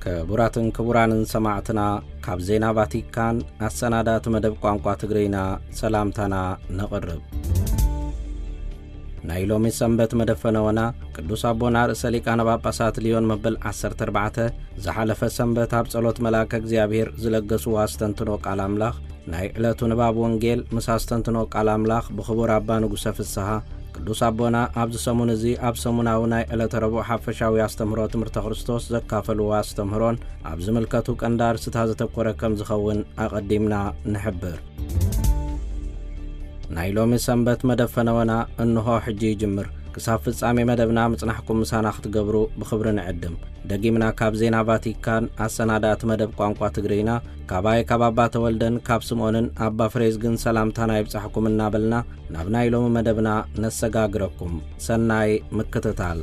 ክቡራትን ክቡራንን ሰማዕትና፣ ካብ ዜና ቫቲካን ኣሰናዳእቲ መደብ ቋንቋ ትግርይና ሰላምታና ነቕርብ። ናይ ሎሚ ሰንበት መደብ ፈነወና፣ ቅዱስ ኣቦና ርእሰ ሊቃነ ጳጳሳት ልዮን መበል ዓሰርተ ኣርባዕተ ዝሓለፈ ሰንበት ኣብ ጸሎት መልኣከ እግዚኣብሔር ዝለገስዎ ኣስተንትኖ ቃል ኣምላኽ፣ ናይ ዕለቱ ንባብ ወንጌል ምስ ኣስተንትኖ ቃል ኣምላኽ ብኽቡር ኣባ ንጉሰ ፍስሃ፣ ቅዱስ ኣቦና ኣብዚ ሰሙን እዚ ኣብ ሰሙናዊ ናይ ዕለተ ረቡዕ ሓፈሻዊ ኣስተምህሮ ትምህርተ ክርስቶስ ዘካፈልዎ ኣስተምህሮን ኣብ ዝምልከቱ ቀንዲ ኣርስታት ዘተኮረ ከም ዝኸውን ኣቐዲምና ንሕብር። ናይ ሎሚ ሰንበት መደብ ፈነወና እንሆ ሕጂ ይጅምር። ክሳብ ፍጻሜ መደብና ምጽናሕኩም ምሳና ክትገብሩ ብኽብሪ ንዕድም። ደጊምና ካብ ዜና ቫቲካን ኣሰናዳእቲ መደብ ቋንቋ ትግርይና፣ ካባይ ካብ ኣባ ተወልደን ካብ ስምኦንን ኣባ ፍሬዝግን ሰላምታና ይብጻሕኩም እናበልና፣ ናብ ናይ ሎሚ መደብና ነሰጋግረኩም። ሰናይ ምክትታል።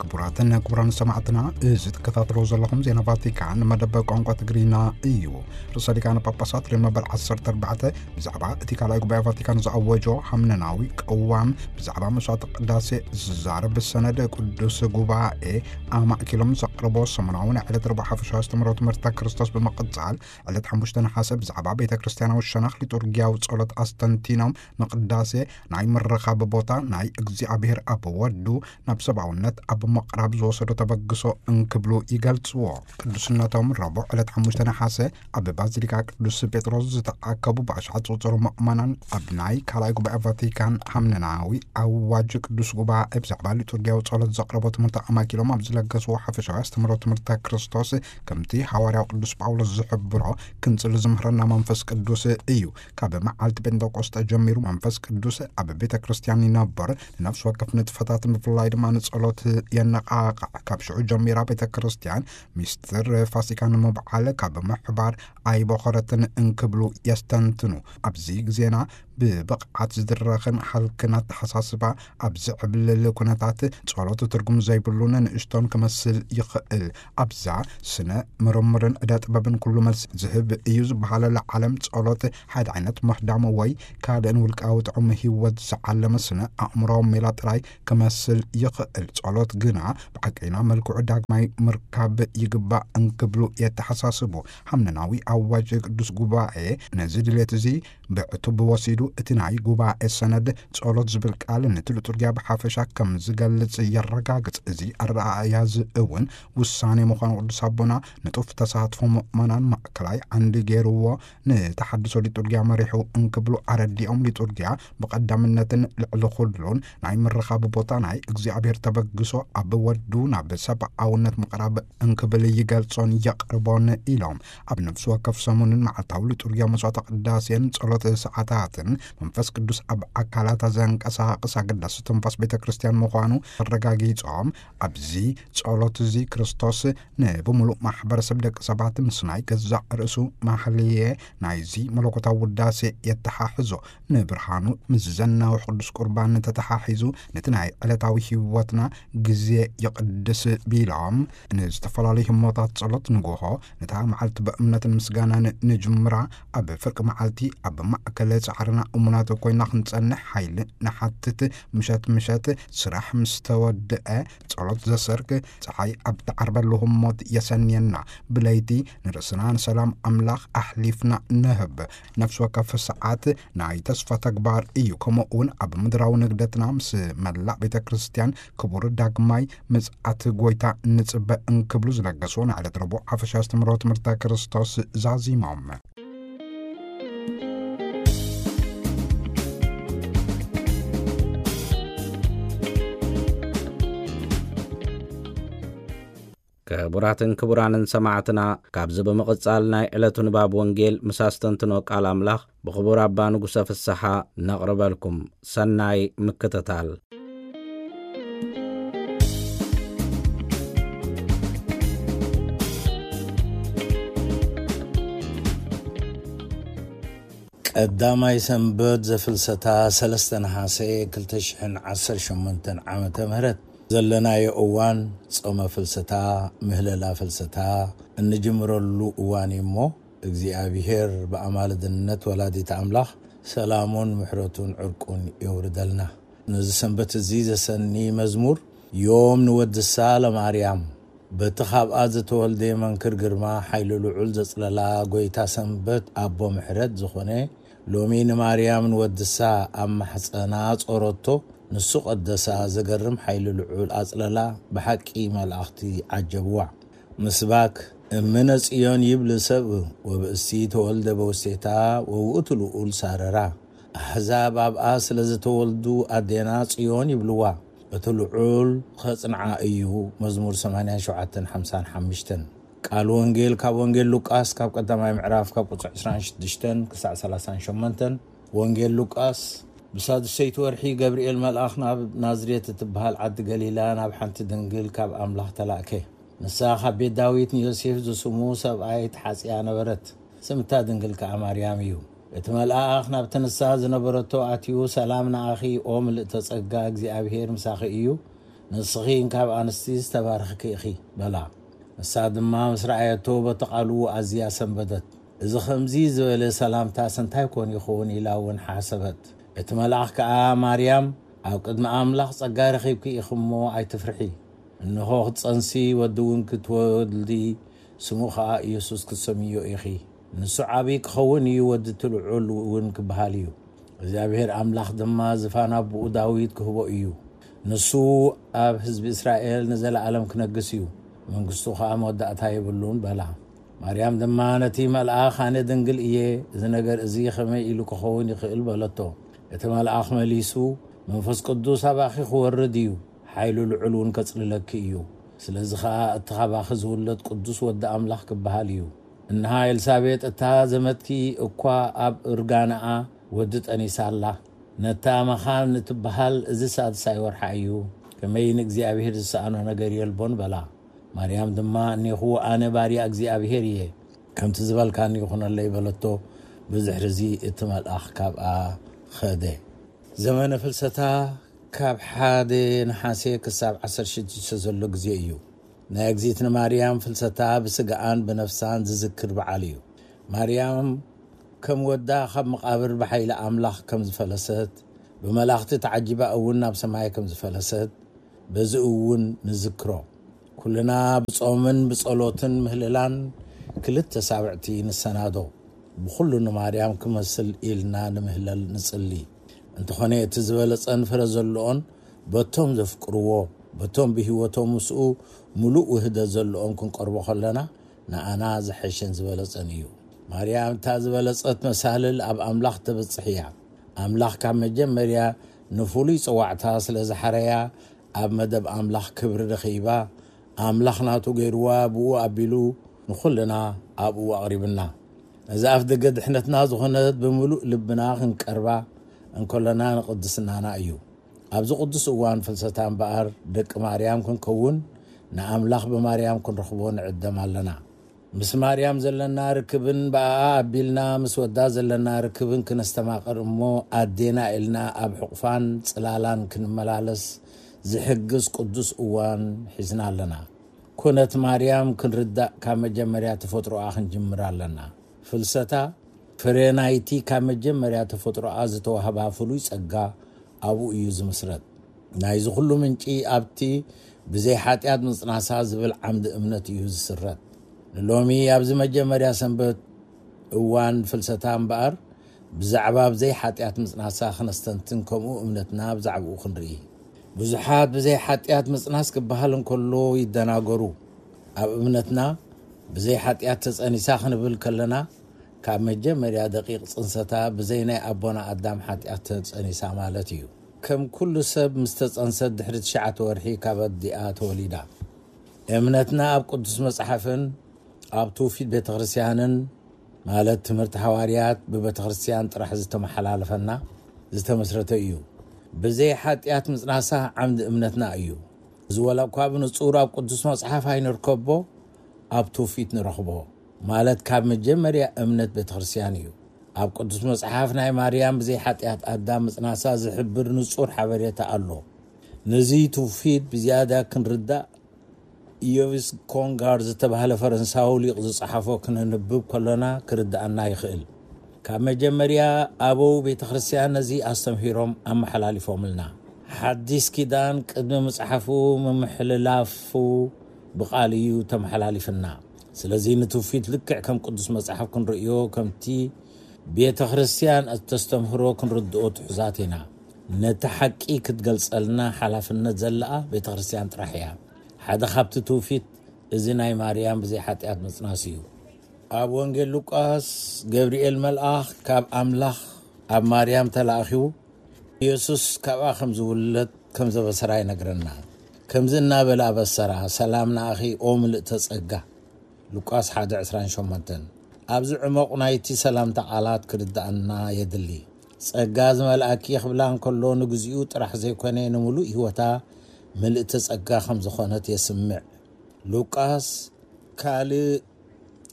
ክቡራትን ክቡራን ሰማዕትና፣ እዚ ትከታተልዎ ዘለኹም ዜና ቫቲካን መደብ ቋንቋ ትግርይና እዩ። ርእሰ ሊቃነ ጳጳሳት ልዮን መበል ዓሰርተ ኣርባዕተ ብዛዕባ እቲ ካልኣይ ጉባኤ ቫቲካን ዝኣወጆ ሃምነናዊ ቅዋም፣ ብዛዕባ መስዋዕቲ ቅዳሴ ዝዛረብ ሰነድ ቅዱስ ጉባኤ ኣማእኪሎም ዘቕርቦ ሰሙናዊ ናይ ዕለት ረቡዕ ሓፈሻዊ ኣስተምህሮ ትምህርተ ክርስቶስ ብምቕጻል፣ ዕለት ሓሙሽተ ነሓሰ ብዛዕባ ቤተ ክርስቲያናዊ ሸነኽ ሊጡርጊያዊ ጸሎት ኣስተንቲኖም፣ ንቅዳሴ ናይ ምርኻብ ቦታ፣ ናይ እግዚኣብሔር ኣብ ወዱ ናብ ሰብኣውነት ኣብ ምቕራብ ዝወሰዶ ተበግሶ እንክብሉ ይገልጽዎ። ቅዱስነቶም ረቡዕ ዕለት ሓሙሽተ ነሓሰ ኣብ ባዚሊካ ቅዱስ ጴጥሮስ ዝተኣከቡ ብኣሽሓት ዝቑጸሩ ምእመናን፣ ኣብ ናይ ካልኣይ ጉባኤ ቫቲካን ሃምነናዊ ኣዋጅ ቅዱስ ጉባኤ ብዛዕባ ሊጡርጊያዊ ጸሎት ዘቕረቦ ትምህርቲ ኣማኪሎም ኣብ ዝለገስዎ ሓፈሻዊ ኣስተምህሮ ትምህርተ ክርስቶስ፣ ከምቲ ሃዋርያው ቅዱስ ጳውሎስ ዝሕብሮ፣ ክንጽሊ ዝምህረና መንፈስ ቅዱስ እዩ። ካብ መዓልቲ ጴንጠቆስጠ ጀሚሩ መንፈስ ቅዱስ ኣብ ቤተ ክርስቲያን ይነብር፣ ንነፍሲ ወከፍ ንጥፈታት ብፍላይ ድማ ንጸሎት የነቓቕዕ። ካብ ሽዑ ጀሚራ ቤተ ክርስቲያን ሚስጥር ፋሲካ ንምብዓል ካብ ምሕባር ኣይቦኸረትን እንክብሉ የስተንትኑ። ኣብዚ ግዜና ብብቕዓት ዝድረኽን ሃልክን ኣተሓሳስባ ኣብ ዝዕብልል ኩነታት፣ ጸሎት ትርጉም ዘይብሉን ንእሽቶን ክመስል ይኽእል። ኣብዛ ስነ ምርምርን ዕደ ጥበብን ኩሉ መልሲ ዝህብ እዩ ዝበሃለላ ዓለም፣ ጸሎት ሓደ ዓይነት ምህዳም ወይ ካልእን ውልቃዊ ጥዑም ህይወት ዝዓለመ ስነ ኣእምሮዊ ሜላ ጥራይ ክመስል ይኽእል። ጸሎት ግና ብሓቀይና መልክዑ ዳግማይ ምርካብ ይግባእ እንክብሉ የተሓሳስቡ። ሃምነናዊ ኣዋጅ ቅዱስ ጉባኤ ነዚ ድሌት እዚ ብዕቱብ ወሲዱ፣ እቲ ናይ ጉባኤ ሰነድ ጸሎት ዝብል ቃል ነቲ ሊጡርጊያ ብሓፈሻ ከም ዝገልጽ የረጋግጽ። እዚ ኣረኣእያ እዚ እውን ውሳኔ ምዃኑ ቅዱስ ኣቦና ንጡፍ ተሳትፎ ምእመናን ማእከላይ ዓንዲ ገይርዎ፣ ንተሓድሶ ሊጡርጊያ መሪሑ እንክብሉ ኣረዲኦም፣ ሊጡርጊያ ብቐዳምነትን ልዕሊ ኩሉን ናይ ምርኻብ ቦታ፣ ናይ እግዚኣብሔር ተበግሶ ኣብ ወዱ ናብ ሰብኣውነት ምቕራብ እንክብል ይገልጾን የቕርቦን ኢሎም። ኣብ ነፍሲ ወከፍ ሰሙንን መዓልታዊ ሊጡርጊያ መስዋዕተ ቅዳሴን ጸሎት ሰዓታትን መንፈስ ቅዱስ ኣብ ኣካላታ ዘንቀሳቕስ ኣገዳሲ ትንፋስ ቤተ ክርስቲያን ምዃኑ ኣረጋጊጾም፣ ኣብዚ ጸሎት እዚ ክርስቶስ ንብምሉእ ማሕበረሰብ ደቂ ሰባት ምስ ናይ ገዛእ ርእሱ ማህልየ ናይዚ መለኮታዊ ውዳሴ የተሓሕዞ። ንብርሃኑ ምስ ዘናውሕ ቅዱስ ቁርባን ተተሓሒዙ፣ ነቲ ናይ ዕለታዊ ህይወትና ግዜ ይቕድስ ቢሎም፣ ንዝተፈላለዩ ህሞታት ጸሎት ንግሆ፣ ነታ መዓልቲ ብእምነትን ምስጋናን ንጅምራ። ኣብ ፍርቂ መዓልቲ ኣብ ማእከል ጻዕርና እሙናት ኮይና ክንጸንሕ ሓይሊ ንሓትት። ምሸት ምሸት ስራሕ ምስ ተወድአ፣ ጸሎት ዘሰርክ፣ ጸሓይ ኣብ ትዓርበሉ ህሞት የሰንየና። ብለይቲ ንርእስና ንሰላም ኣምላኽ ኣሕሊፍና ንህብ። ነፍሲ ወከፍ ሰዓት ናይ ተስፋ ተግባር እዩ። ከምኡ እውን ኣብ ምድራዊ ንግደትና ምስ መላእ ቤተ ክርስቲያን ክቡር ዳግማይ ምጽኣት ጎይታ ንጽበ እንክብሉ ዝለገስዎ ናይ ዕለት ረቡዕ ሓፈሻ ኣስተምህሮ ትምህርተ ክርስቶስ ዛዚሞም። ክቡራትን ክቡራንን ሰማዕትና፣ ካብዚ ብምቕጻል ናይ ዕለቱ ንባብ ወንጌል ምስ ኣስተንትኖ ቃል ኣምላኽ ብኽቡር ኣባ ንጉሰ ፍስሓ ነቕርበልኩም። ሰናይ ምክትታል። ቀዳማይ ሰንበት ዘፍልሰታ ሰለስተ ነሓሰ ክልተ ሽሕን ዓሰርተ ሸሞንተን ዓመተ ምህረት። ዘለናዮ እዋን ጾመ ፍልሰታ፣ ምህለላ ፍልሰታ እንጅምረሉ እዋን እዩ እሞ፣ እግዚኣብሔር ብኣማልድነት ወላዲት ኣምላኽ ሰላሙን ምሕረቱን ዕርቁን የውርደልና። ነዚ ሰንበት እዚ ዘሰኒ መዝሙር ዮም ንወድሳ ለማርያም፣ በቲ ካብኣ ዝተወልደ መንክር ግርማ ሓይሉ ልዑል ዘጽለላ ጎይታ ሰንበት ኣቦ ምሕረት ዝኾነ፣ ሎሚ ንማርያም ንወድሳ ኣብ ማሕጸና ጾረቶ፣ ንሱ ቀደሳ። ዘገርም ሓይሉ ልዑል ኣጽለላ፣ ብሓቂ መላእኽቲ ዓጀብዋ። ምስባክ እምነ ጽዮን ይብል ሰብ፣ ወብእሲ ተወልደ በውሴታ፣ ወውእቱ ልዑል ሳረራ። ኣሕዛብ ኣብኣ ስለ ዝተወልዱ ኣዴና ጽዮን ይብልዋ። እቲ ልዑል ኸጽንዓ እዩ። መዝሙር ሰማንያን ሸውዓተን ሓምሳን ሓሙሽተን። ቃል ወንጌል ካብ ወንጌል ሉቃስ ካብ ቀዳማይ ምዕራፍ ካብ ቁጽሪ ዕስራን ሽዱሽተን ክሳዕ ሰላሳን ሸሞንተን። ወንጌል ሉቃስ። ብሳድሰይቲ ወርሒ ገብርኤል መልኣኽ ናብ ናዝሬት እትበሃል ዓዲ ገሊላ ናብ ሓንቲ ድንግል ካብ ኣምላኽ ተላእከ። ንሳ ካብ ቤት ዳዊት ንዮሴፍ ዝስሙ ሰብኣይ ተሓጽያ ነበረት። ስምታ ድንግል ከኣ ማርያም እዩ። እቲ መልኣኽ ናብቲ ንሳ ዝነበረቶ ኣትዩ፣ "ሰላም ንኣኺ፣ ኦ ምልእተ ጸጋ፣ እግዚኣብሄር ምሳኺ እዩ። ንስኺ ካብ ኣንስቲ ዝተባረኽኪ ኢኺ" በላ። ንሳ ድማ ምስ ረኣየቶ በቲ ቃሉ ኣዝያ ሰንበደት። "እዚ ከምዚ ዝበለ ሰላምታስ እንታይ ኮን ይኸውን?" ኢላ እውን ሓሰበት። እቲ መልኣኽ ከኣ፣ "ማርያም፣ ኣብ ቅድሚ ኣምላኽ ጸጋ ረኺብኪ ኢኺ እሞ ኣይትፍርሒ። እንሆ ክትጸንሲ፣ ወዲ እውን ክትወልዲ፣ ስሙ ኸኣ ኢየሱስ ክትሰምዮ ኢኺ። ንሱ ዓብዪ ክኸውን እዩ፣ ወዲ እቲ ልዑል እውን ክበሃል እዩ። እግዚኣብሔር ኣምላኽ ድማ ዝፋን ኣቦኡ ዳዊት ክህቦ እዩ። ንሱ ኣብ ህዝቢ እስራኤል ንዘለኣለም ክነግስ እዩ፣ መንግስቱ ኸኣ መወዳእታ የብሉን" በላ። ማርያም ድማ ነቲ መልኣኽ፣ "ኣነ ድንግል እየ፣ እዚ ነገር እዚ ኸመይ ኢሉ ክኸውን ይኽእል?" በለቶ። እቲ መልኣኽ መሊሱ፣ "መንፈስ ቅዱስ ኣባኺ ክወርድ እዩ፣ ሓይሉ ልዑል እውን ከጽልለኪ እዩ። ስለዚ ኸኣ እቲ ኻባኺ ዝውለድ ቅዱስ ወዲ ኣምላኽ ክበሃል እዩ። እንሃ ኤልሳቤጥ እታ ዘመድኪ እኳ ኣብ እርጋንኣ ወዲ ጠኒሳ ኣላ። ነታ መኻን እትበሃል እዚ ሳድሳይ ወርሓ እዩ። ከመይ ንእግዚኣብሔር ዝሰኣኖ ነገር የልቦን" በላ። ማርያም ድማ፣ "እኔኹ ኣነ ባርያ እግዚኣብሔር እየ፣ ከምቲ ዝበልካኒ ይኹነለይ" በለቶ። ብድሕርዚ እቲ መልኣኽ ካብኣ ኸደ። ዘመነ ፍልሰታ ካብ ሓደ ነሓሴ ክሳብ ዓሰርተ ሽዱሽተ ዘሎ ግዜ እዩ። ናይ እግዚኣብሔር ማርያም ፍልሰታ ብስጋኣን ብነፍሳን ዝዝክር በዓል እዩ። ማርያም ከም ወዳ ካብ መቓብር ብሓይሊ ኣምላኽ ከም ዝፈለሰት፣ ብመላእኽቲ ተዓጂባ እውን ናብ ሰማይ ከም ዝፈለሰት፣ በዚ እውን ንዝክሮ። ኩልና ብጾምን ብጸሎትን ምህልላን ክልተ ሳብዕቲ ንሰናዶ። ብኹሉ ንማርያም ክመስል ኢልና ንምህለል ንጽሊ። እንተኾነ እቲ ዝበለጸን ፍረ ዘለኦን በቶም ዘፍቅርዎ፣ በቶም ብህይወቶም ምስኡ ምሉእ ውህደት ዘለኦም ክንቀርቦ ከለና ንኣና ዝሐሸን ዝበለጸን እዩ። ማርያም እታ ዝበለጸት መሳልል ኣብ ኣምላኽ ተበጽሕ እያ። ኣምላኽ ካብ መጀመርያ ንፍሉይ ጸዋዕታ ስለ ዝሓረያ ኣብ መደብ ኣምላኽ ክብሪ ረኺባ፣ ኣምላኽ ናቱ ገይርዋ፣ ብኡ ኣቢሉ ንኹልና ኣብኡ ኣቕሪብና። ነዚ ኣፍ ደገ ድሕነትና ዝኾነት ብምሉእ ልብና ክንቀርባ እንከለና ንቕድስናና እዩ። ኣብዚ ቅዱስ እዋን ፍልሰታ እምበኣር ደቂ ማርያም ክንከውን ንኣምላኽ ብማርያም ክንረኽቦ ንዕደም ኣለና። ምስ ማርያም ዘለና ርክብን ብኣኣ ኣቢልና ምስ ወዳ ዘለና ርክብን ክነስተማቕር እሞ ኣዴና ኢልና ኣብ ሕቑፋን ጽላላን ክንመላለስ ዝሕግዝ ቅዱስ እዋን ሒዝና ኣለና። ኩነት ማርያም ክንርዳእ ካብ መጀመርያ ተፈጥሮኣ ክንጅምር ኣለና። ፍልሰታ ፍረ ናይቲ ካብ መጀመርያ ተፈጥሮኣ ዝተዋህባ ፍሉይ ጸጋ ኣብኡ እዩ ዝምስረት። ናይዚ ኩሉ ምንጪ ኣብቲ ብዘይ ሓጢኣት ምጽናሳ ዝብል ዓምዲ እምነት እዩ ዝስረት። ንሎሚ ኣብዚ መጀመርያ ሰንበት እዋን ፍልሰታ እምበኣር ብዛዕባ ብዘይ ሓጢኣት ምጽናሳ ክነስተንትን ከምኡ እምነትና ብዛዕባኡ ክንርኢ። ብዙሓት ብዘይ ሓጢኣት ምጽናስ ክበሃል እንከሎ ይደናገሩ። ኣብ እምነትና ብዘይ ሓጢኣት ተጸኒሳ ክንብል ከለና ካብ መጀመርያ ደቂቕ ጽንሰታ ብዘይ ናይ ኣቦና ኣዳም ሓጢኣት ተጸኒሳ ማለት እዩ። ከም ኩሉ ሰብ ምስ ተጸንሰት ድሕሪ ትሽዓተ ወርሒ ካብ ኣዲኣ ተወሊዳ። እምነትና ኣብ ቅዱስ መጽሓፍን ኣብ ትውፊት ቤተ ክርስቲያንን ማለት ትምህርቲ ሓዋርያት ብቤተ ክርስቲያን ጥራሕ ዝተመሓላለፈና ዝተመስረተ እዩ። ብዘይ ሓጢኣት ምጽናሳ ዓምዲ እምነትና እዩ። እዚ ወላ እኳ ብንጹር ኣብ ቅዱስ መጽሓፍ ኣይንርከቦ፣ ኣብ ትውፊት ንረኽቦ። ማለት ካብ መጀመርያ እምነት ቤተ ክርስቲያን እዩ። ኣብ ቅዱስ መጽሓፍ ናይ ማርያም ብዘይ ሓጢኣት ኣዳም ምጽናሳ ዝሕብር ንጹር ሓበሬታ ኣሎ። ነዚ ትውፊት ብዝያዳ ክንርዳእ ኢዮቪስ ኮንጋር ዝተባህለ ፈረንሳዊ ሊቕ ዝጸሓፎ ክነንብብ ከሎና ክርድኣና ይኽእል። ካብ መጀመርያ ኣበው ቤተ ክርስቲያን ነዚ ኣስተምህሮም ኣመሓላሊፎምልና። ሓዲስ ኪዳን ቅድሚ ምጽሓፉ ምምሕልላፉ ብቓል እዩ ተመሓላሊፍና። ስለዚ ንትውፊት ልክዕ ከም ቅዱስ መጽሓፍ ክንርእዮ፣ ከምቲ ቤተ ክርስቲያን እተስተምህሮ ክንርድኦ ትሑዛት ኢና። ነቲ ሓቂ ክትገልጸልና ሓላፍነት ዘለኣ ቤተ ክርስቲያን ጥራሕ እያ። ሓደ ካብቲ ትውፊት እዚ ናይ ማርያም ብዘይ ሓጢኣት ምጽናስ እዩ። ኣብ ወንጌል ሉቃስ ገብርኤል መልኣኽ ካብ ኣምላኽ ኣብ ማርያም ተላእኺቡ ኢየሱስ ካብኣ ከም ዝውለድ ከም ዘበሰራ ይነግረና። ከምዚ እናበለ ኣበሰራ፣ "ሰላም ንኣኺ ኦ ምልእተ ጸጋ"። ሉቃስ ሓደ ዕስራን ሸሞንተን። ኣብዚ ዕሞቕ ናይቲ ሰላምታ ቃላት ክርድኣና የድሊ። ጸጋ ዝመልኣኪ ክብላ እንከሎ ንግዚኡ ጥራሕ ዘይኮነ ንምሉእ ህይወታ ምልእተ ጸጋ ከም ዝኾነት የስምዕ። ሉቃስ ካልእ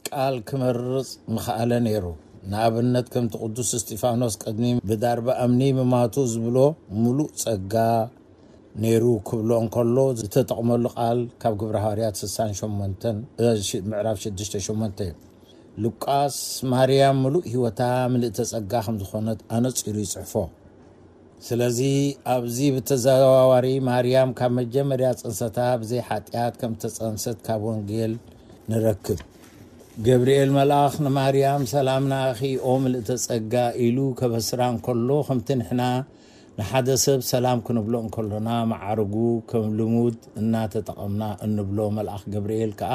ቃል ክመርጽ ምኽኣለ ነይሩ። ንኣብነት ከምቲ ቅዱስ እስጢፋኖስ ቅድሚ ብዳርባ እምኒ ምማቱ ዝብሎ ምሉእ ጸጋ ነይሩ ክብሎ እንከሎ ዝተጠቕመሉ ቃል ካብ ግብረ ሃዋርያት ስሳን ሸሞንተን፣ እ፣ ሽ-፣ ምዕራፍ ሽዱሽተ ሸሞንተ እዩ። ሉቃስ ማርያም ምሉእ ህይወታ ምልእተ ጸጋ ከም ዝኾነት ኣነጺሩ ይጽሕፎ። ስለዚ ኣብዚ ብተዘዋዋሪ ማርያም ካብ መጀመርያ ጽንሰታ ብዘይ ሓጢኣት ከም ተጸንሰት ካብ ወንጌል ንረክብ። ገብርኤል መልኣኽ ንማርያም "ሰላም ንኣኺ ኦ ምልእተ ጸጋ" ኢሉ ከበስራ እንከሎ፣ ከምቲ ንሕና ንሓደ ሰብ ሰላም ክንብሎ እንከሎና መዓርጉ ከም ልሙድ እናተጠቐምና እንብሎ፣ መልኣኽ ገብርኤል ከኣ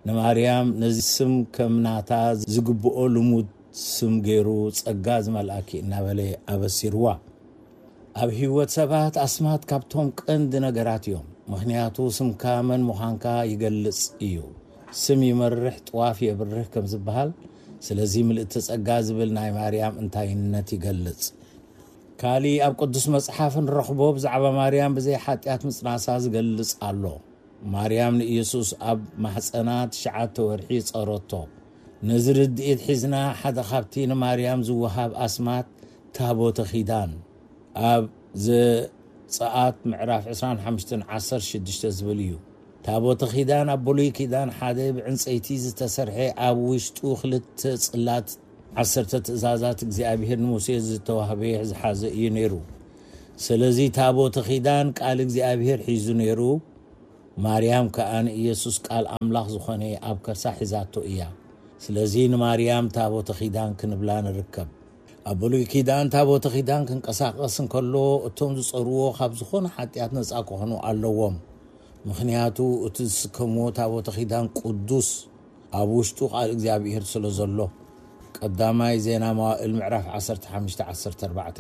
ንማርያም ነዚ ስም ከም ናታ ዝግብኦ ልሙድ ስም ገይሩ "ጸጋ ዝመልኣኪ" እናበለ ኣበሲርዋ። ኣብ ህይወት ሰባት ኣስማት ካብቶም ቀንዲ ነገራት እዮም። ምኽንያቱ ስምካ መን ምዃንካ ይገልጽ እዩ። ስም ይመርሕ፣ ጥዋፍ የብርህ ከም ዝበሃል፣ ስለዚ ምልእቲ ጸጋ ዝብል ናይ ማርያም እንታይነት ይገልጽ። ካሊ ኣብ ቅዱስ መጽሓፍ ንረኽቦ ብዛዕባ ማርያም ብዘይ ሓጢኣት ምጽናሳ ዝገልጽ ኣሎ። ማርያም ንኢየሱስ ኣብ ማሕጸና ትሽዓተ ወርሒ ጸረቶ። ነዚ ርድኢት ሒዝና ሓደ ካብቲ ንማርያም ዝወሃብ ኣስማት ታቦተ ኪዳን ኣብ ዘጸኣት ምዕራፍ ዕስራን ሓሙሽተን ዓሰርተ ሽዱሽተ ዝብል እዩ። ታቦተ ኪዳን ኣብ ብሉይ ኪዳን ሓደ ብዕንጸይቲ ዝተሰርሐ ኣብ ውሽጡ ክልተ ጽላት ዓሰርተ ትእዛዛት እግዚኣብሔር ንሙሴ ዝተዋህበ ዝሓዘ እዩ ነይሩ። ስለዚ ታቦተ ኪዳን ቃል እግዚኣብሔር ሒዙ ነይሩ። ማርያም ከኣ ንኢየሱስ ቃል ኣምላኽ ዝኾነ ኣብ ከርሳ ሒዛቶ እያ። ስለዚ ንማርያም ታቦተ ኪዳን ክንብላ ንርከብ። ኣብ ብሉይ ኪዳን ታቦተ ኪዳን ክንቀሳቐስ እንከሎ እቶም ዝጸርዎ ካብ ዝኾነ ሓጢኣት ነጻ ክኾኑ ኣለዎም። ምኽንያቱ እቲ ዝስከምዎ ታቦተ ኪዳን ቅዱስ ኣብ ውሽጡ ቃል እግዚኣብሔር ስለ ዘሎ። ቀዳማይ ዜና መዋእል ምዕራፍ ዓሰርተ ሓሙሽተ ዓሰርተ ኣርባዕተ።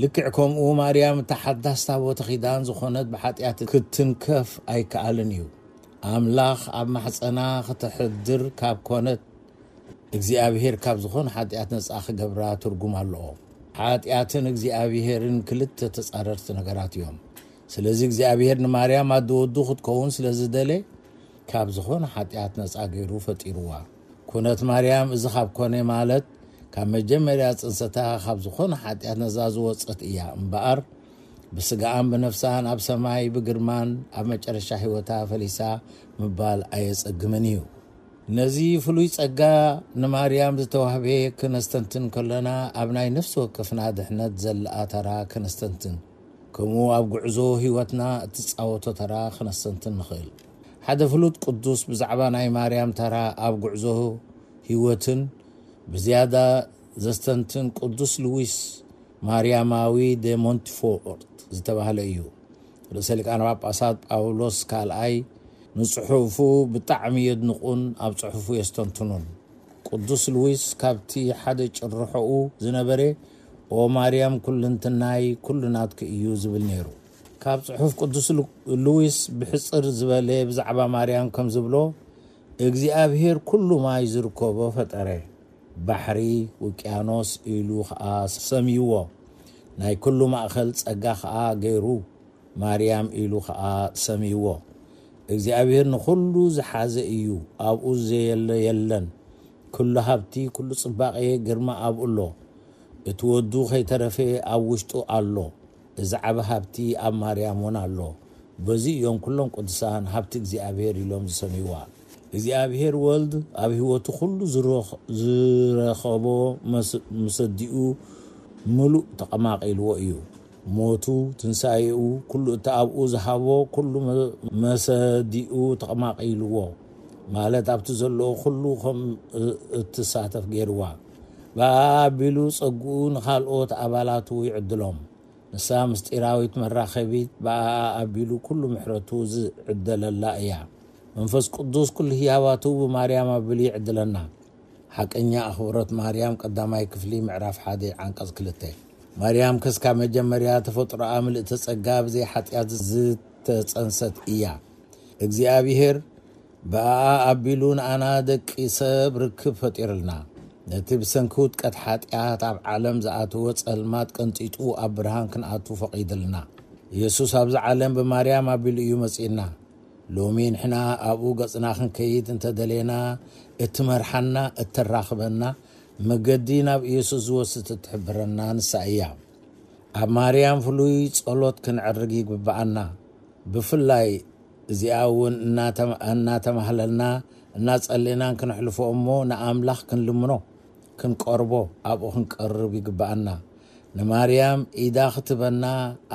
ልክዕ ከምኡ ማርያም እታ ሓዳስ ታቦተ ኪዳን ዝኾነት ብሓጢኣት ክትንከፍ ኣይከኣልን እዩ። ኣምላኽ ኣብ ማሕጸና ክተሕድር ካብ ኮነት እግዚኣብሔር ካብ ዝኾነ ሓጢኣት ነጻ ክገብራ ትርጉም ኣለዎ። ሓጢኣትን እግዚኣብሔርን ክልተ ተጻረርቲ ነገራት እዮም። ስለዚ እግዚኣብሔር ንማርያም ኣደ ወዱ ክትከውን ስለ ዝደለ ካብ ዝኾነ ሓጢኣት ነጻ ገይሩ ፈጢርዋ። ኩነት ማርያም እዚ ካብ ኮነ ማለት ካብ መጀመርያ ጽንሰታ ካብ ዝኾነ ሓጢኣት ነጻ ዝወጸት እያ እምበኣር ብስጋኣን ብነፍሳን ኣብ ሰማይ ብግርማን ኣብ መጨረሻ ህይወታ ፈሊሳ ምባል ኣየጸግምን እዩ። ነዚ ፍሉይ ጸጋ ንማርያም ዝተዋህበ ክነስተንትን ከለና ኣብ ናይ ነፍሲ ወከፍና ድሕነት ዘለኣ ተራ ክነስተንትን ከምኡ ኣብ ጉዕዞ ህይወትና እትጻወቶ ተራ ክነስተንትን ንኽእል። ሓደ ፍሉጥ ቅዱስ ብዛዕባ ናይ ማርያም ተራ ኣብ ጉዕዞ ህይወትን ብዝያዳ ዘስተንትን ቅዱስ ሉዊስ ማርያማዊ ደ ሞንትፎርት ዝተባህለ እዩ። ርእሰ ሊቃነ ጳጳሳት ጳውሎስ ካልኣይ ንጽሑፉ ብጣዕሚ የድንቑን ኣብ ጽሑፉ የስተንትኑን። ቅዱስ ሉዊስ ካብቲ ሓደ ጭርሖኡ ዝነበረ "ኦ ማርያም ኩልንትናይ ኩሉ ናትኪ እዩ" ዝብል ነይሩ። ካብ ጽሑፍ ቅዱስ ሉ-፣ ሉዊስ ብሕጽር ዝበለ ብዛዕባ ማርያም ከም ዝብሎ፣ "እግዚኣብሔር ኩሉ ማይ ዝርከቦ ፈጠረ፣ ባሕሪ፣ ውቅያኖስ ኢሉ ኸኣ ሰምይዎ፣ ናይ ኩሉ ማእከል ጸጋ ኸኣ ገይሩ፣ ማርያም ኢሉ ኸኣ ሰምይዎ። እግዚኣብሔር ንኹሉ ዝሓዘ እዩ፣ ኣብኡ ዘየለ የለን። ኩሉ ሃብቲ፣ ኩሉ ጽባቐ፣ ግርማ ኣብኡ ኣሎ። እቲ ወዱ ከይተረፈ ኣብ ውሽጡ ኣሎ። እዚ ዓቢ ሃብቲ ኣብ ማርያም እውን ኣሎ። በዚ እዮም ኩሎም ቅዱሳን ሃብቲ እግዚኣብሔር ኢሎም ዝሰምይዋ።" እግዚኣብሔር ወልድ ኣብ ህይወቱ ኩሉ ዝረኽ-፣ ዝረኸቦ መስ-፣ ምስ ኣዲኡ ምሉእ ተቐማቒልዎ እዩ። ሞቱ፣ ትንሳኤኡ፣ ኩሉ እቲ ኣብኡ ዝሃቦ ኩሉ መ-፣ መሰዲኡ ተቐማቒልዎ፣ ማለት ኣብቲ ዘለዎ ኩሉ ከም እ-፣ እትሳተፍ ገይርዋ። ብኣኣ ኣቢሉ ጸግኡ ንኻልኦት ኣባላቱ ይዕድሎም። ንሳ ምስጢራዊት መራኸቢት ብኣኣ ኣቢሉ ኩሉ ምሕረቱ ዝዕደለላ እያ። መንፈስ ቅዱስ ኩሉ ህያባቱ ብማርያም ኣቢሉ ይዕድለና። ሓቀኛ ኣኽብሮት ማርያም ቀዳማይ ክፍሊ ምዕራፍ ሓደ ዓንቀጽ ክልተ። ማርያም ከስካ መጀመርያ ተፈጥሮኣ ምልእተ ጸጋ ብዘይ ሓጢኣት ዝተጸንሰት እያ። እግዚኣብሔር ብኣኣ ኣቢሉ ንኣና ደቂ ሰብ ርክብ ፈጢርልና። ነቲ ብሰንኪ ውድቀት ሓጢኣት ኣብ ዓለም ዝኣተወ ጸልማት ቀንጢጡ ኣብ ብርሃን ክንኣቱ ፈቒድልና። ኢየሱስ ኣብዚ ዓለም ብማርያም ኣቢሉ እዩ መጺእና። ሎሚ ንሕና ኣብኡ ገጽና ክንከይድ እንተደሌና፣ እትመርሓና፣ እተራኽበና፣ መገዲ ናብ ኢየሱስ ዝወስድ እትሕብረና ንሳ እያ። ኣብ ማርያም ፍሉይ ጸሎት ክንዕርግ ይግብኣና። ብፍላይ እዚኣ እውን እናተማ-፣ እናተማህለልና፣ እናጸለናን ክንሕልፎ እሞ ንኣምላኽ ክንልምኖ፣ ክንቀርቦ፣ ኣብኡ ክንቀርብ ይግብኣና። ንማርያም ኢዳ ክትበና፣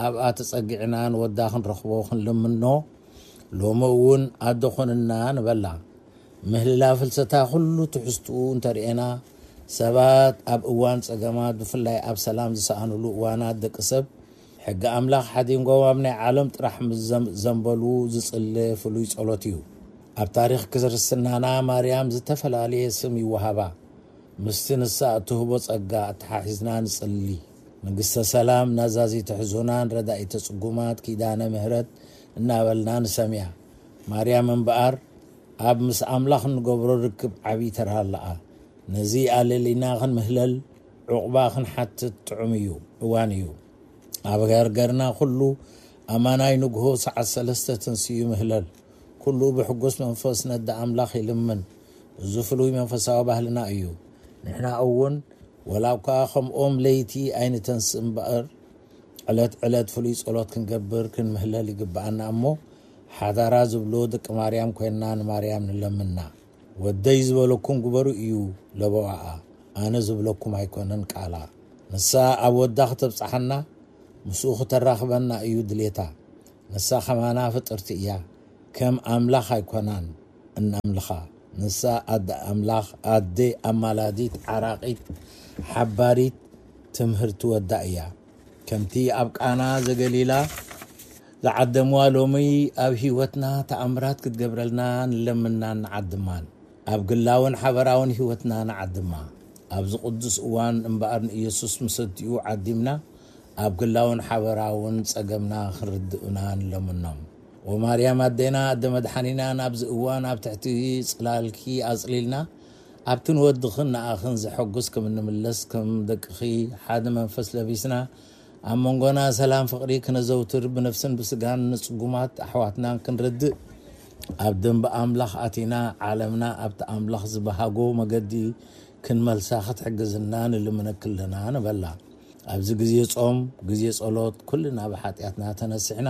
ኣብኣ ተጸጊዕና ንወዳ ክንረኽቦ ክንልምኖ፣ ሎሚ እውን ኣደ ኾንና ንበላ። ምህልላ ፍልሰታ ኩሉ ትሕዝትኡ እንተርኤና፣ ሰባት ኣብ እዋን ጸገማት፣ ብፍላይ ኣብ ሰላም ዝሰኣኑሉ እዋናት ደቂ ሰብ፣ ሕጊ ኣምላኽ ሓዲንጎም ኣብ ናይ ዓለም ጥራሕ ምስ ዘም-፣ ዘንበሉ ዝጽለ ፍሉይ ጸሎት እዩ። ኣብ ታሪኽ ክርስትናና ማርያም ዝተፈላለየ ስም ይወሃባ። ምስቲ ንሳ እትህቦ ጸጋ ኣተሓሒዝና ንጽሊ። ንግስተ ሰላም፣ ናዛዚተ ሕዙናን ረዳኢተ ጽጉማት፣ ኪዳነ ምህረት እናበልና ንሰምያ። ማርያም እምበኣር ኣብ ምስ ኣምላኽ እንገብሮ ርክብ ዓብዪ ተራ ኣለኣ። ነዚ ኣለሊና ክንምህለል፣ ዑቕባ ክንሓትት ጥዑም እዩ፣ እዋን እዩ። ኣብ ገርገርና ኩሉ ኣማናይ ንግሆ ሰዓት ሰለስተ ተንስኡ ይምህለል። ኩሉ ብሕጉስ መንፈስ ነዳ ኣምላኽ ይልምን። እዚ ፍሉይ መንፈሳዊ ባህልና እዩ። ንሕና እውን ወላ እኳ ከምኦም ለይቲ ኣይንተንስእ እምበኣር፣ ዕለት ዕለት ፍሉይ ጸሎት ክንገብር ክንምህለል ይግብኣና እሞ፣ ሓዳራ ዝብሎ ደቂ ማርያም ኮይንና ንማርያም ንለምና። "ወደይ ዝበለኩም ግበሩ" እዩ ለበዋኣ፣ ኣነ ዝብለኩም ኣይኮነን ቃላ። ንሳ ኣብ ወዳ ክተብጽሓና፣ ምስኡ ክተራኽበና እዩ ድሌታ። ንሳ ከማና ፍጥርቲ እያ፣ ከም ኣምላኽ ኣይኮናን እነምልኻ። ንሳ ኣደ ኣምላኽ፣ ኣደ ኣማላዲት፣ ዓራቒት፣ ሓባሪት፣ ትምህርቲ ወዳ እያ። ከምቲ ኣብ ቃና ዘገሊላ ዝዓደምዋ፣ ሎሚ ኣብ ህይወትና ተኣምራት ክትገብረልና ንለምናን ንዓድማን። ኣብ ግላውን ሓበራውን ህይወትና ንዓድማ። ኣብዚ ቅዱስ እዋን እምበኣር ንኢየሱስ ምስ ኣዲኡ ዓዲምና፣ ኣብ ግላውን ሓበራውን ጸገምና ክርድኡና ንለምኖም። ወማርያም ኣዴና፣ ኣደ መድሓኒና፣ ናብዚ እዋን ኣብ ትሕቲ ጽላልኪ ኣጽሊልና፣ ኣብቲ ንወድኽን ንኣኽን ዘሐጉስ ከም እንምለስ፣ ከም ደቅኺ ሓደ መንፈስ ለቢስና፣ ኣብ መንጎና ሰላም ፍቕሪ ክነዘውትር፣ ብነፍስን ብስጋን ንጽጉማት ኣሕዋትናን ክንረድእ፣ ኣብ ደንበ ኣምላኽ ኣቲና፣ ዓለምና ኣብቲ ኣምላኽ ዝበሃጎ መገዲ ክንመልሳ ክትሕግዝና ንልምነኪ ኣለና ንበላ። ኣብዚ ግዜ ጾም፣ ግዜ ጸሎት፣ ኩልና ብሓጢኣትና ተነሲሕና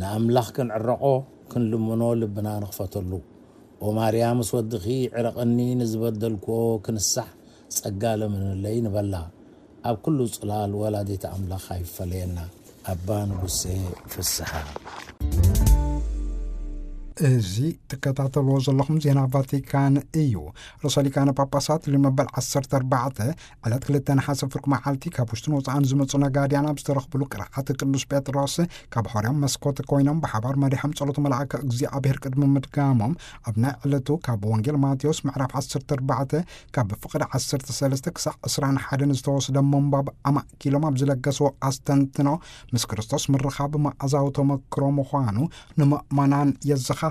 ንኣምላኽ ክንዕረቖ፣ ክንልምኖ ልብና ንኽፈተሉ። ኦ ማርያም፣ ምስ ወድኺ ዕረቐኒ፣ ንዝበደልክዎ ክንሳሕ ጸጋ ለምንለይ ንበላ። ኣብ ኩሉ ጽላል ወላዲት ኣምላኽ ኣይፈለየና። ኣባ ንጉሴ ፍስሓ። እዚ ትከታተልዎ ዘለኹም ዜና ቫቲካን እዩ። ርእሰ ሊቃነ ጳጳሳት ሊዮ መበል ዓሰርተ ኣርባዕተ ዕለት ክልተ ነሓሰ ፍርቂ መዓልቲ ካብ ውሽጥን ወጻእን ዝመጹ ነጋድያን ኣብ ዝተረኽብሉ ቅርዓት ቅዱስ ጴጥሮስ ካብ ሖርያም መስኮት ኮይኖም ብሓባር መሪሖም ጸሎት መልኣከ እግዚኣብሔር ቅድሚ ምድጋሞም ኣብ ናይ ዕለቱ ካብ ወንጌል ማቴዎስ ምዕራፍ ዓሰርተ ኣርባዕተ ካብ ፍቕዲ ዓሰርተ ሰለስተ ክሳዕ ዕስራን ሓደን ዝተወስደ ምንባብ ኣማእኪሎም ኣብ ዝለገስዎ ኣስተንትኖ፣ ምስ ክርስቶስ ምርኻብ መኣዛዊ ተመክሮ ምዃኑ ንምእመናን የዘኻኽሩ።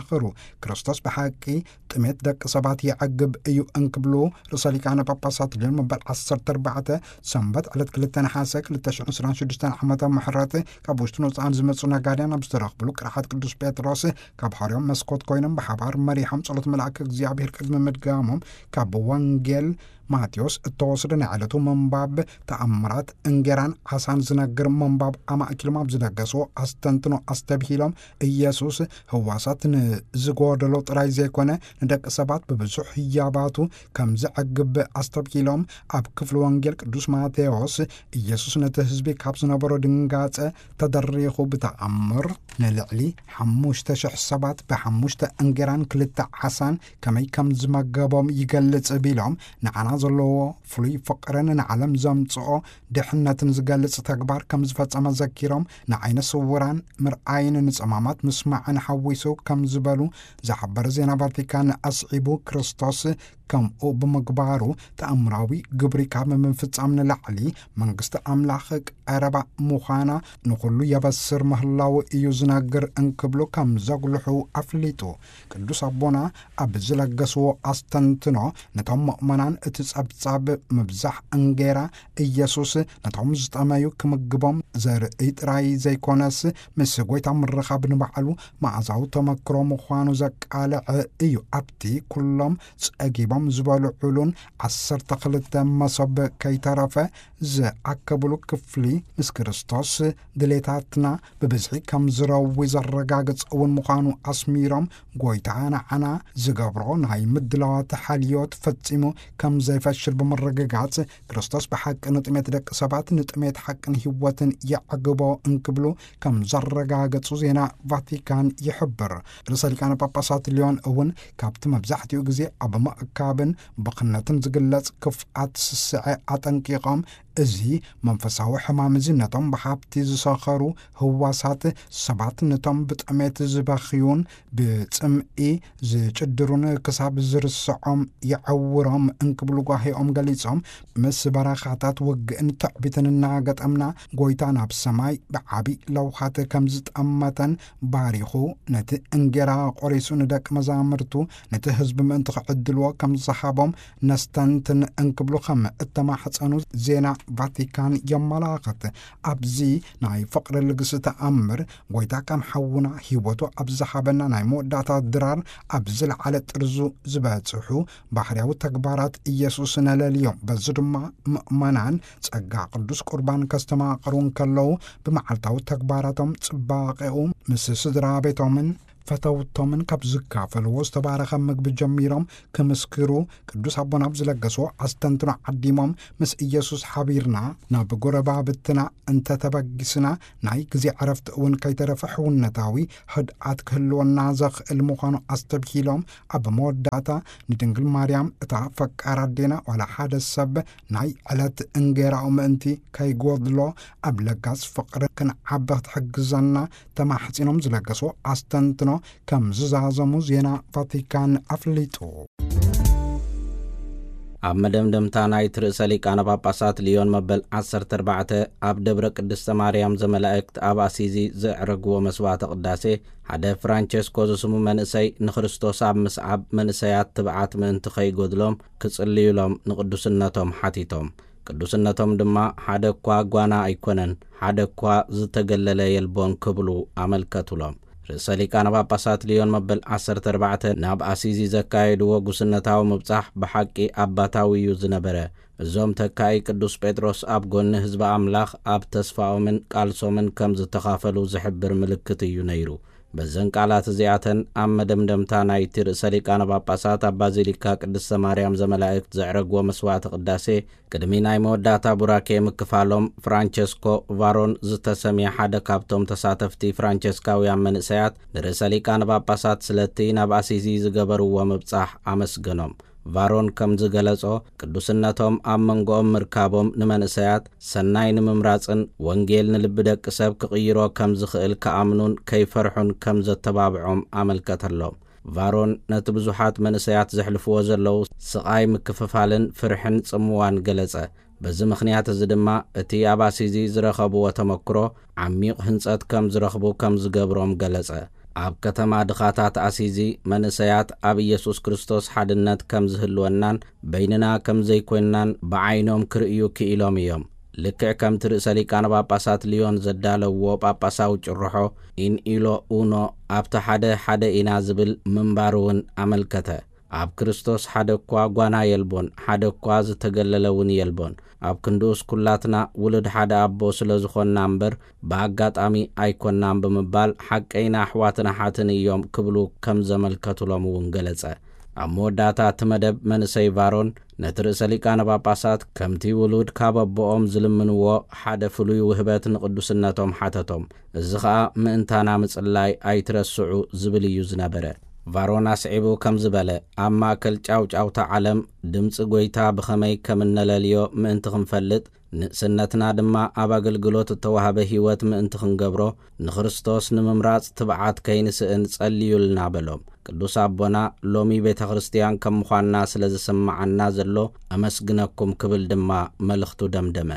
ክርስቶስ ብሓቂ ጥሜት ደቂ ሰባት የዕግብ እዩ እንክብሉ ርእሰ ሊቃነ ጳጳሳት ሊዮን መበል ዓሰርተ ኣርባዕተ ሰንበት ዕለት ክልተ ነሓሰ ክልተ ሽሕን ዕስራን ሽዱሽተን ዓመተ ምሕረት ካብ ውሽጥን ወጻእን ዝመጹ ነጋድያን ኣብ ዝተረኽብሉ ቅርሓት ቅዱስ ጴጥሮስ ካብ ሖርያም መስኮት ኮይኖም ብሓባር መሪሖም ጸሎት መልኣከ እግዚኣብሔር ቅድሚ ምድጋሞም ካብ ወንጌል ማቴዎስ እተወስደ ናይ ዕለቱ ምንባብ ተኣምራት እንጌራን ዓሳን ዝነግር ምንባብ ኣማእኪሎም ኣብ ዝለገስዎ ኣስተንትኖ ኣስተብሂሎም፣ ኢየሱስ ህዋሳት ንዝጎደሎ ጥራይ ዘይኮነ ንደቂ ሰባት ብብዙሕ ህያባቱ ከም ዘዕግብ ኣስተብሂሎም፣ ኣብ ክፍሊ ወንጌል ቅዱስ ማቴዎስ ኢየሱስ ነቲ ህዝቢ ካብ ዝነበሮ ድንጋጸ ተደሪኹ ብተኣምር ንልዕሊ ሓሙሽተ ሽሕ ሰባት ብሓሙሽተ እንጌራን ክልተ ዓሳን ከመይ ከም ዝመገቦም ይገልጽ ቢሎም፣ ንዓና ዘለዎ ፍሉይ ፍቕርን ንዓለም ዘምጽኦ ድሕነትን ዝገልጽ ተግባር ከም ዝፈጸመ ዘኪሮም፣ ንዓይነ ስውራን ምርኣይን ንጸማማት ምስማዕን ሓዊሱ ከም ዝበሉ ዝሓበረ ዜና ቫቲካን ኣስዒቡ፣ ክርስቶስ ከምኡ ብምግባሩ ተኣምራዊ ግብሪ ካብ ምፍጻም ንላዕሊ መንግስቲ ኣምላኽ ቀረባ ምዃና ንኹሉ የበስር ምህላው እዩ ዝነግር እንክብሉ ከም ዘጉልሑ ኣፍሊጡ። ቅዱስ ኣቦና ኣብ ዝለገስዎ ኣስተንትኖ፣ ነቶም ምእመናን እቲ ጸብጻብ ምብዛሕ እንጌራ ኢየሱስ ነቶም ዝጠመዩ ክምግቦም ዘርኢ ጥራይ ዘይኮነስ፣ ምስ ጐይታ ምርኻብ ንባዕሉ መዓዛዊ ተመክሮ ምዃኑ ዘቃልዐ እዩ። ኣብቲ ኩሎም ጸጊቦም ዝበልዑሉን ዓሰርተ ክልተ መሶብ ከይተረፈ ዝኣከብሉ ክፍሊ፣ ምስ ክርስቶስ ድሌታትና ብብዝሒ ከም ዝረዊ ዘረጋግጽ እውን ምዃኑ ኣስሚሮም፣ ጐይታ ንዓና ዝገብሮ ናይ ምድላዋት ሓልዮት ፈጺሙ ከም ዘይፈሽል ብምርግጋጽ፣ ክርስቶስ ብሓቂ ንጥሜት ደቂ ሰባት፣ ንጥሜት ሓቅን ህይወትን የዕግቦ እንክብሉ ከም ዘረጋገጹ ዜና ቫቲካን ይሕብር። ርእሰ ሊቃነ ጳጳሳት ሊዮን እውን ካብቲ መብዛሕትኡ ግዜ ኣብ ምእካብን ብኽነትን ዝግለጽ ክፍኣት ስስዐ ኣጠንቂቖም፣ እዚ መንፈሳዊ ሕማም እዚ ነቶም ብሃብቲ ዝሰኸሩ ህዋሳት ሰባት፣ ነቶም ብጥሜት ዝበኽዩን ብጽምኢ ዝጭድሩን ክሳብ ዝርስዖም የዐውሮም እንክብሉ ጓሂኦም ገሊጾም፣ ምስ በረኻታት ውግእን ትዕቢትን እናገጠምና፣ ጐይታ ናብ ሰማይ ብዓቢ ለውሃት ከም ዝጠመተን ባሪኹ፣ ነቲ እንጌራ ቆሪሱ ንደቂ መዛምርቱ፣ ነቲ ህዝቢ ምእንቲ ክዕድልዎ ከም ዝሃቦም ነስተንትን እንክብሉ ከም እተማሕጸኑ ዜና ቫቲካን የመላኽት። ኣብዚ ናይ ፍቕሪ ልግሲ ተኣምር፣ ጐይታ ከም ሓውና ህይወቱ ኣብ ዝሃበና ናይ መወዳእታ ድራር ኣብ ዝለዓለ ጥርዙ ዝበጽሑ ባህርያዊ ተግባራት ኢየሱስ ነለልዮም። በዚ ድማ ምእመናን ጸጋ ቅዱስ ቁርባን ከስተማቕሩ እንከለዉ፣ ብመዓልታዊ ተግባራቶም ጽባቐኡ ምስ ስድራ ቤቶምን ፈተውቶምን ካብ ዝካፈልዎ ዝተባረኸ ምግቢ ጀሚሮም ክምስክሩ፣ ቅዱስ ኣቦና ኣብ ዝለገስዎ ኣስተንትኖ ዓዲሞም፣ ምስ ኢየሱስ ሓቢርና ናብ ጎረባብትና እንተተበጊስና፣ ናይ ግዜ ዕረፍቲ እውን ከይተረፈ ሕውነታዊ ህድኣት ክህልወና ዘኽእል ምዃኑ ኣስተብሂሎም፣ ኣብ መወዳእታ ንድንግል ማርያም እታ ፈቃር ኣዴና ዋላ ሓደ ሰብ ናይ ዕለት እንጌራኡ ምእንቲ ከይጎድሎ ኣብ ለጋስ ፍቕሪ ክንዓቢ ክትሕግዘና ተማሕጺኖም ዝለገስዎ ኣስተንትኖ ከም ዝዛዘሙ ዜና ቫቲካን ኣፍሊጡ። ኣብ መደምደምታ ናይቲ ርእሰ ሊቃነ ጳጳሳት ሊዮን መበል ዓሰርተ ኣርባዕተ ኣብ ደብረ ቅድስተ ማርያም ዘመላእክት ኣብ ኣሲዚ ዘዕረግዎ መስዋዕተ ቅዳሴ፣ ሓደ ፍራንቸስኮ ዝስሙ መንእሰይ ንክርስቶስ ኣብ ምስዓብ መንእሰያት ትብዓት ምእንቲ ከይጎድሎም ክጽልዩሎም ንቅዱስነቶም ሓቲቶም። ቅዱስነቶም ድማ ሓደ እኳ ጓና ኣይኮነን፣ ሓደ እኳ ዝተገለለ የልቦን ክብሉ ኣመልከቱሎም። ርእሰ ሊቃነ ጳጳሳት ሊዮን መበል ዓሰርተ ኣርባዕተ ናብ ኣሲዚ ዘካየድዎ ጉስነታዊ ምብጻሕ ብሓቂ ኣባታዊ እዩ ዝነበረ። እዞም ተካኢ ቅዱስ ጴጥሮስ ኣብ ጎኒ ህዝቢ ኣምላኽ ኣብ ተስፋኦምን ቃልሶምን ከም ዝተኻፈሉ ዝሕብር ምልክት እዩ ነይሩ። በዘን ቃላት እዚኣተን ኣብ መደምደምታ ናይቲ ርእሰ ሊቃነ ጳጳሳት ኣብ ባዚሊካ ቅድስተ ማርያም ዘመላእክት ዘዕረግዎ መስዋዕቲ ቅዳሴ ቅድሚ ናይ መወዳእታ ቡራኬ ምክፋሎም፣ ፍራንቸስኮ ቫሮን ዝተሰምየ ሓደ ካብቶም ተሳተፍቲ ፍራንቸስካውያን መንእሰያት ንርእሰ ሊቃነ ጳጳሳት ስለቲ ናብ ኣሲዚ ዝገበርዎ ምብጻሕ ኣመስገኖም። ቫሮን ከም ዝገለጾ፣ ቅዱስነቶም ኣብ መንጎኦም ምርካቦም ንመንእሰያት ሰናይ ንምምራጽን ወንጌል ንልቢ ደቂ ሰብ ክቕይሮ ከም ዝኽእል ክኣምኑን ከይፈርሑን ከም ዘተባብዖም ኣመልከተሎም። ቫሮን ነቲ ብዙሓት መንእሰያት ዘሕልፍዎ ዘለዉ ስቓይ ምክፍፋልን ፍርሕን ጽምዋን ገለጸ። በዚ ምኽንያት እዚ ድማ እቲ ኣብ ኣሲዚ ዝረኸብዎ ተመክሮ ዓሚቕ ህንጸት ከም ዝረኽቡ ከም ዝገብሮም ገለጸ። ኣብ ከተማ ድኻታት ኣሲዚ መንእሰያት ኣብ ኢየሱስ ክርስቶስ ሓድነት ከም ዝህልወናን በይንና ከም ዘይኮንናን ብዓይኖም ክርእዩ ክኢሎም እዮም። ልክዕ ከምቲ ርእሰ ሊቃነ ጳጳሳት ሊዮን ዘዳለውዎ ጳጳሳዊ ጭርሖ ኢን ኢሎ ኡኖ ኣብቲ ሓደ ሓደ ኢና ዝብል ምንባሩ እውን ኣመልከተ። ኣብ ክርስቶስ ሓደ እኳ ጓና የልቦን፣ ሓደ እኳ ዝተገለለ እውን የልቦን። ኣብ ክንድኡስ ኩላትና ውሉድ ሓደ ኣቦ ስለ ዝኾንና እምበር ብኣጋጣሚ ኣይኮናን ብምባል ሓቀይና ኣሕዋትን ኣሓትን እዮም ክብሉ ከም ዘመልከቱሎም እውን ገለጸ። ኣብ መወዳእታ እቲ መደብ መንእሰይ ቫሮን ነቲ ርእሰ ሊቃነ ጳጳሳት ከምቲ ውሉድ ካብ ኣቦኦም ዝልምንዎ ሓደ ፍሉይ ውህበት ንቅዱስነቶም ሓተቶም። እዚ ኸኣ ምእንታና ምጽላይ ኣይትረስዑ ዝብል እዩ ዝነበረ። ቫሮን ኣስዒቡ ከም ዝበለ፣ ኣብ ማእከል ጫውጫውታ ዓለም ድምጺ ጐይታ ብኸመይ ከም እነለልዮ ምእንቲ ክንፈልጥ፣ ንእስነትና ድማ ኣብ ኣገልግሎት እተዋህበ ህይወት ምእንቲ ክንገብሮ፣ ንክርስቶስ ንምምራጽ ትብዓት ከይንስእን ጸልዩልና በሎም። ቅዱስ ኣቦና ሎሚ ቤተ ክርስቲያን ከም ምዃንና ስለ ዝስምዓና ዘሎ ኣመስግነኩም ክብል ድማ መልእኽቱ ደምደመ።